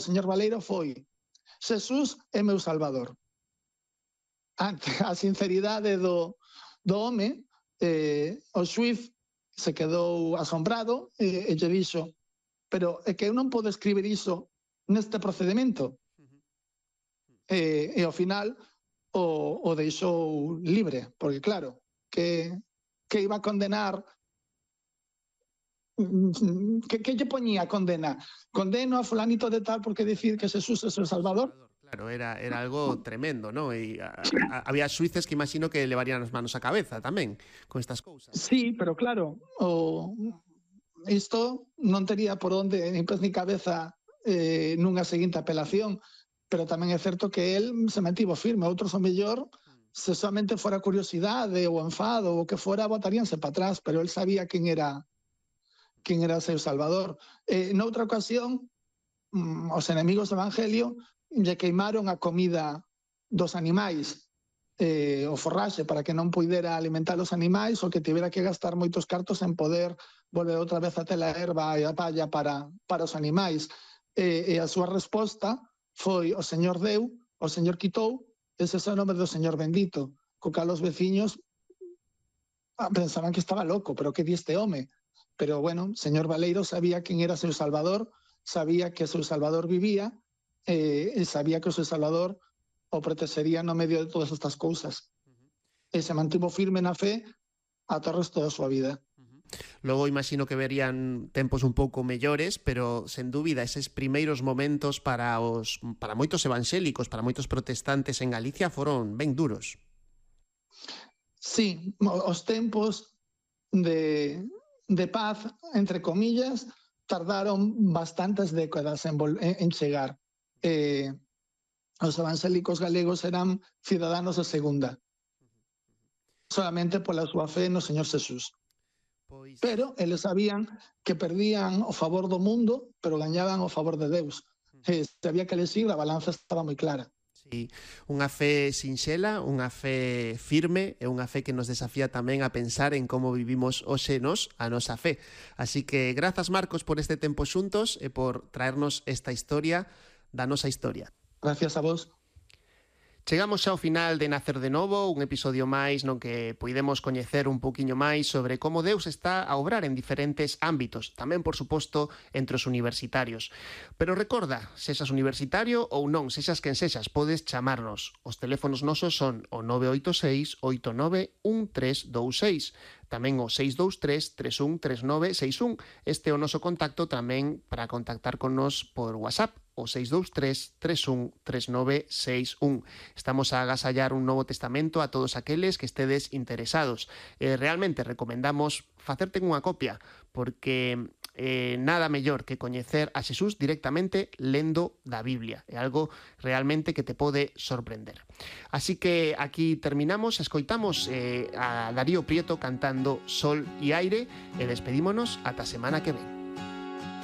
señor Baleiro foi: Jesús é meu salvador. Ante a sinceridade do home, o xuiz se quedou asombrado e lle dixo: pero é que eu non podo escribir iso neste procedimento. E ao final o deixou libre, porque claro, que iba a condenar, que lle poñía a condena? Condeno a fulanito de tal porque decir que Jesús é o Salvador. Claro, era algo tremendo, ¿no? Y había xuíces que imagino que levarían as manos á cabeza tamén con estas cousas. Sí, pero claro, isto non tería por onde nin pés ni cabeza nunha seguinte apelación, pero tamén é certo que el se mantivo firme. Outros, o mellor, se somente fora curiosidade ou enfado ou que fora, botaríanse para atrás, pero el sabía quen era o seu Salvador. Noutra ocasión, os enemigos do Evangelio lle queimaron a comida dos animais, o forraxe, para que non puidera alimentar os animais, ou que tivera que gastar moitos cartos en poder volver outra vez a ter a erva e a palla para os animais. E a súa resposta foi: o Señor deu, o Señor quitou, ese é o nome do Señor bendito. Co cal os veciños pensaban que estaba loco, pero que di este home? Pero bueno, señor Baleiro sabía quen era seu Salvador, sabía que o seu Salvador vivía, e sabía que o seu Salvador o protexería no medio de todas estas cousas. E se mantivo firme na fe ata o resto da súa vida. Logo imagino que verían tempos un pouco mellores, pero sen dúbida eses primeiros momentos para moitos evangélicos, para moitos protestantes en Galicia foron ben duros. Sí, os tempos de paz, entre comillas, tardaron bastantes décadas en chegar. Os evangélicos galegos eran ciudadanos de segunda, solamente pola súa fe no Señor Jesús. Pero eles sabían que perdían o favor do mundo, pero gañaban o favor de Deus. Sabía que eles a balanza estaba moi clara. Sí, unha fe sinxela, unha fe firme e unha fe que nos desafía tamén a pensar en como vivimos hoxe a nosa fe. Así que grazas, Marcos, por este tempo xuntos e por traernos esta historia da nosa historia. Gracias a vos. Chegamos xa ao final de Nacer de Novo, un episodio máis no que poidemos coñecer un poquinho máis sobre como Deus está a obrar en diferentes ámbitos, tamén, por suposto, entre os universitarios. Pero recorda, sexas universitario ou non, sexas quen sexas, podes chamarnos. Os teléfonos nosos son o 986 89 1326, tamén o 623 31 39 61. Este é o noso contacto tamén para contactar con nos por WhatsApp, o 623 31 39 61. Estamos a agasallar un Novo Testamento a todos aqueles que estedes interesados. Realmente recomendamos facerte unha copia, porque nada mellor que coñecer a Xesús directamente lendo da Biblia. É algo realmente que te pode sorprender. Así que aquí terminamos, escoitamos a Darío Prieto cantando Sol e Aire e despedímonos ata a semana que ven.